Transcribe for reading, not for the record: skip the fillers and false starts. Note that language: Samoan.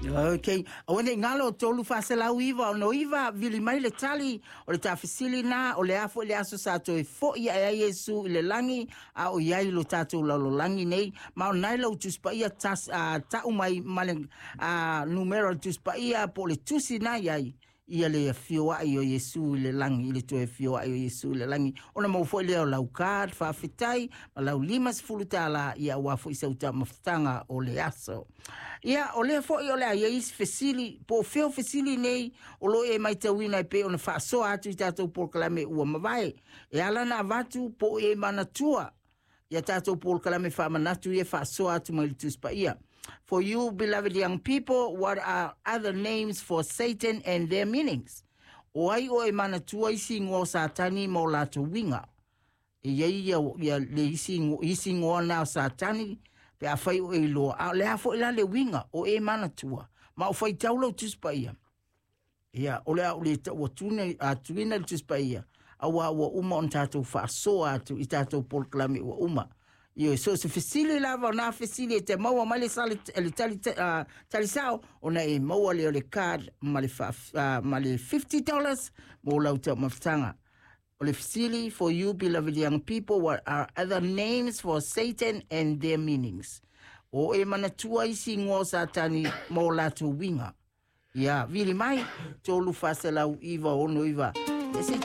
Ok, aua nei galo 3 469 69, vili mai le tali o le taufesili na: o le a foi le aso sa toe fo'i ae ai Iesu i le lagi a o i ai lo tatou lalolagi nei? Ma o nai lau Tusi Paia tas, ta'u mai ma le numera o le Tusi Paia po o le tusi na i ai ia le afio a'i o Iesu i le lagi, i le toe afio a'i o Iesu i le lagi, ona mau foi lea o lau card faafetai ma lau $50 ia aua foi sau taumafataga o le aso. Ia, o lea foi o le a i ai isi fesili po o fea o fesili nei o lo o e matauina e pei ona faasoa atu i tatou polokalame ua mavae e ala na avatu, po o e manatua ia tatou polokalame faamanatu ia faasoa atu mai le Tusi Paia. For you beloved young people, what are other names for Satan and their meanings? O ai o e manatua isi igoa o Satani ma o latou uiga? E iai ia le isi igoa na o Satani pe a fai o e iloa. A o le a foi la le uiga o e manatua? Ma o faitau lau Tusi Paia. Ia, o le a o le tau atuina le Tusi Paia, auā ua uma ona tatou faasoa atu i tatou polokalame ua uma. Ioe, so se fesili lava o nā fesili e te maua mai le sale le tali tali sao ona e maua lea o le card ma le $50 mo lau taumafataga. O le fesili: for you beloved young people, what are other names for Satan and their meanings? O e manatua isi igoa o Satani ma o latou uiga? Ia, vili mai 3 4 9 6 9. E se